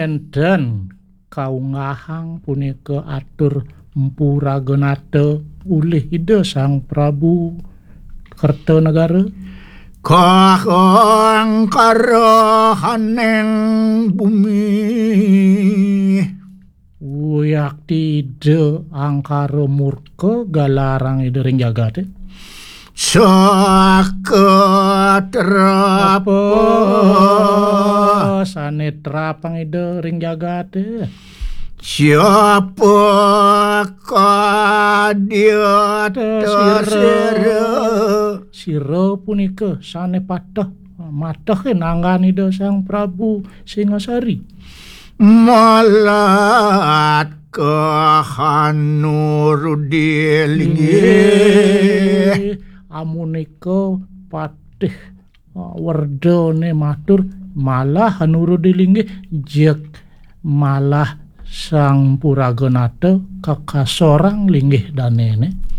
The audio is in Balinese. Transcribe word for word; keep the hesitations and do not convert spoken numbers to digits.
Enten kaunggahang punika atur Mpu Raganata ulih Ida Sang Prabu Kertanegara. Kahang karahaning bumi. Uyakti Ida angkara murka galarang Ida ring jagate. Saka trapa. Apa sane trapang Ida ring jagate? Siapa kadya sira. Sira punika sane pateh, mateh nanggan Ida Sang Prabu Singasari. Malat kahanurudi linggih. Amunika patih, uh, werdane matur malah hanurudi linggih, jeg malah Sang Puraganata kakasorang linggih danene.